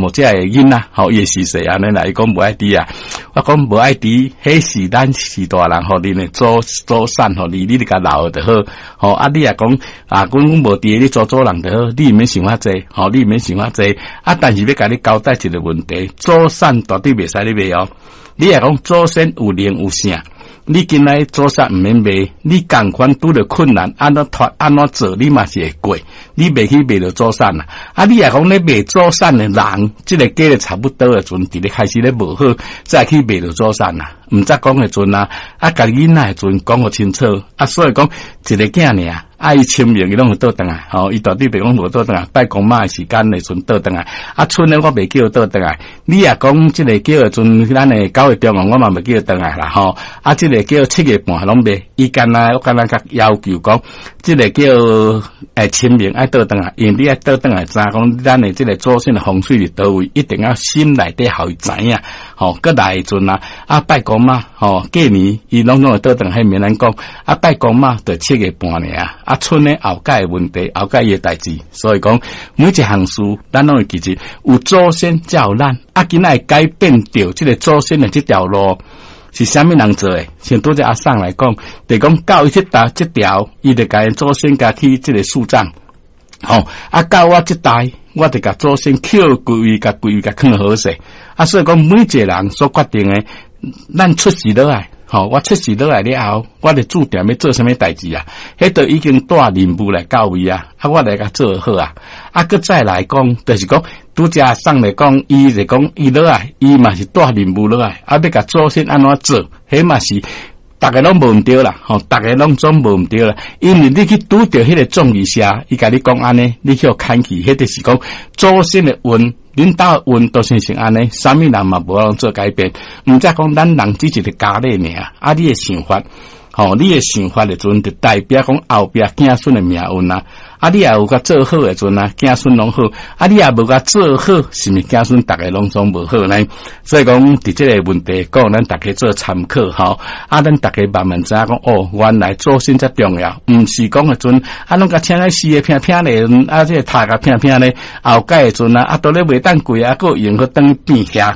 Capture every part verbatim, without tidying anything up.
慕遮的囡仔，吼，伊會是說按呢啦，伊講無愛佇啊，我講無愛佇，彼是咱是大人，予恁的祖祖產，予你，你著共留就好，吼，啊，你若講啊，阮阮無佇，你祖祖人就好，你毋免想遐濟，吼，你毋免想遐濟，啊，但是欲共你交代一個問題，祖產絕對袂使你賣哦，你若講祖先有靈有聖。你今仔祖產毋免賣，你仝款拄著困難，按怎脫按怎做，你嘛是會過，你袂去賣著祖產啦。啊，你若講咧賣祖產的人，這個過得差不多的時陣，佇咧開始咧無好，再去賣著祖產啦。毋則講的陣啊，啊，共囡仔的陣講予清楚，啊，所以講一個囝爾，啊，伊清明伊攏會倒轉來，吼，伊絕對袂講無倒轉來，拜公媽的時間的陣倒轉來，啊，春的我袂叫倒轉來，你若講這個叫的陣，咱的九月中午我嘛袂叫轉來啦，吼，啊，這個叫七月半攏袂，伊干焦我干焦共要求講，這個叫欸清明愛倒轉來，因為你愛倒轉來知影講，咱的這個祖先的風水佇佗位，一定要心內底予伊知影，吼，閣來的陣啊，啊拜公媽，吼，過年伊攏總會倒轉來，彼免咱講，啊拜公媽就七月半爾，啊賰呢後蓋的問題，後蓋伊的代誌，所以講每一項事，咱攏會記住，有祖先才有咱，啊今仔會改變著這個祖先的這條路。是啥物人做的？像拄才阿桑來講，就講到伊這代這條，伊就共祖先共去這個樹葬，吼啊到我這代，我就共祖先抾歸位，共歸位，共囥好勢。啊，所以講每一個人所決定的，咱出世落來，吼，我出世落來了後，我就注定欲做啥物代誌啊？彼都已經帶任務來到位啊！啊，我來共做好啊！啊，閣再來講，就是講拄才阿桑來講，伊就講伊落來，伊嘛是帶任務落來，啊，欲共祖先按怎做，彼嘛是逐个攏無毋對啦，吼，逐个攏總無毋對啦。因為你去拄著彼個葬儀社，伊共你講按呢，你去予牽去，彼就是講祖先的運，恁兜的運都是成按呢，啥物人嘛無法做改變。毋則講咱人只一個家裡爾，啊，你的想法，吼，你的想法的陣，就代表講後壁子孫的命運啊。啊，你也有共做好的陣啊，子孫攏好；啊，你也無共做好，是毋是子孫逐个攏總無好呢？所以講，佇這個問題講，咱逐家做參考吼。啊，咱逐家慢慢知影講，哦，原來祖先遮重要，毋是講的陣，啊，攏共請來死的拼拼咧，啊，這個讀共拼拼咧，後蓋的陣啊，啊，都咧袂當過啊，閣用去當變遐。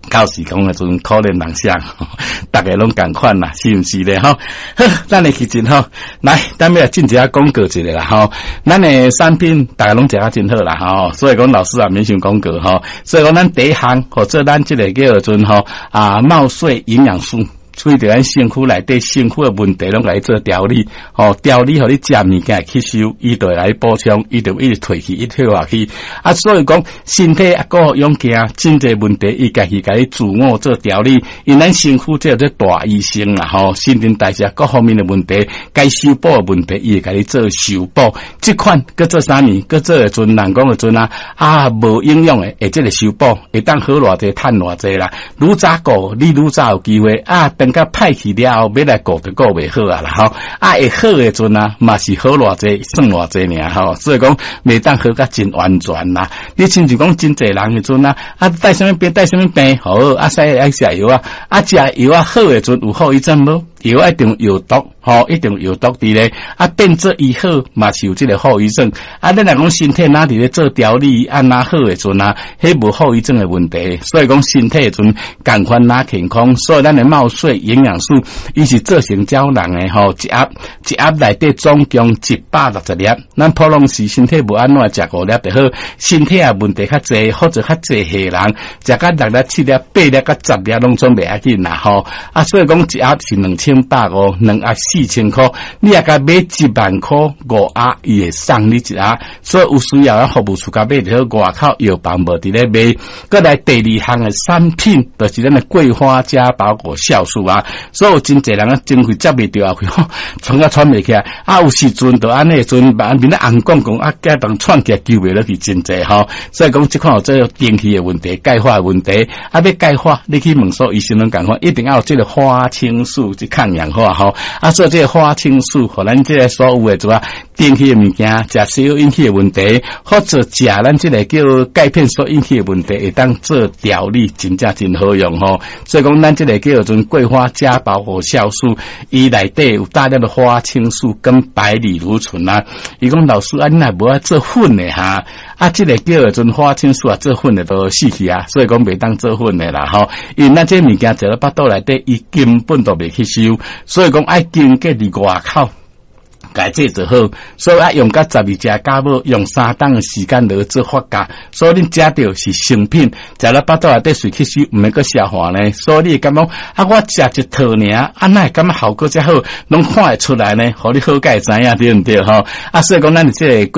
到時講的陣可憐人相，逐家攏仝款啦，是毋是咧？吼，好，咱來去進吼，來，咱欲來進一下廣告一下啦，吼，咱的產品逐家攏食甲真好啦，吼，所以講老師也免傷廣告吼，所以講咱第一項，或者咱這個叫做吼啊，茂穗營養素。對著咱身軀內底身軀的問題，攏共伊做調理，吼，調理予你食物件會吸收，伊就會來補充，伊就一直退去，一直退化去。啊，所以講身體啊，閣養健，真濟問題，伊家己共你自我做調理。因咱身軀這個做大醫生啦，吼，新陳代謝各方面的問題，該修補的問題，伊會共你做修補。這款閣做啥物？閣做的陣人講的陣啊，啊，無營養的，會這個修補，會當好偌濟，趁偌濟啦。愈早顧，你愈早有機會啊，等甲歹去了後，欲來顧就顧袂好啊啦吼。啊，會好的陣啊，嘛是好偌濟，算偌濟爾吼。所以講，袂當好甲真完全啦。你親像講真濟人的陣啊，啊，帶啥物病，帶啥物病，好，啊，使愛食藥啊，啊，食藥啊好的陣有後遺症無？藥一定有毒，吼，一定有毒佇咧。啊，變做醫好嘛是有這個後遺症。啊，咱若講身體哪佇咧做調理，按哪好的陣啊，彼無後遺症的問題。所以講身體的陣仝款哪健康，所以咱的茂穗營養素，伊是做成膠囊的吼，一盒一盒內底總共一百六十粒。咱普通時身體無按怎食五粒就好，身體也問題較濟或者較濟歲人，食甲六粒、七粒、八粒、佮十粒攏總袂要緊啦吼。啊，所以講一盒是兩千百五，兩盒四千箍，你若共買一萬箍五盒，伊會送你一盒。所以有需要咱服務處共買就好，外口藥房無佇咧賣。閣來第二項的產品，就是咱的桂花加保果酵素啊。所以有真濟人啊，真會接袂著啊，喘甲喘袂起來。啊，有時陣就按呢陣，面咧紅摃摃啊，加當喘起來救袂落去真濟吼。所以講，這款有這個電氣的問題、鈣化的問題，啊，欲鈣化，你去問所有醫生攏仝款，一定要有這個花青素去抗氧化吼。啊，做這個花青素，予咱這個所有的做啊，電氣的物件，食西藥引起的問題，或者食咱這個叫鈣片所引起的問題，會當做調理，真正真好用吼。所以講，咱這個叫做桂花加保活酵素，伊內底有大量的花青素跟白藜蘆醇啊。伊講老師啊，你若無愛做粉的哈？啊，這個叫做花青素啊，做粉的都死去啊，所以講袂當做粉的啦吼。因為咱這物件食落腹肚內底，伊根本都袂吸收，所以講愛經過佇外口。共製就好，所以愛用甲十二隻酵母，用三冬的時間來做發酵，所以恁食著是成品，食了腹肚內底隨吸收，毋免閣消化呢。所以你會感覺啊，我食一套爾，啊，哪會感覺效果遮好，攏看會出來呢？予你好佳會知影對毋對吼？啊，所以講咱這個桂。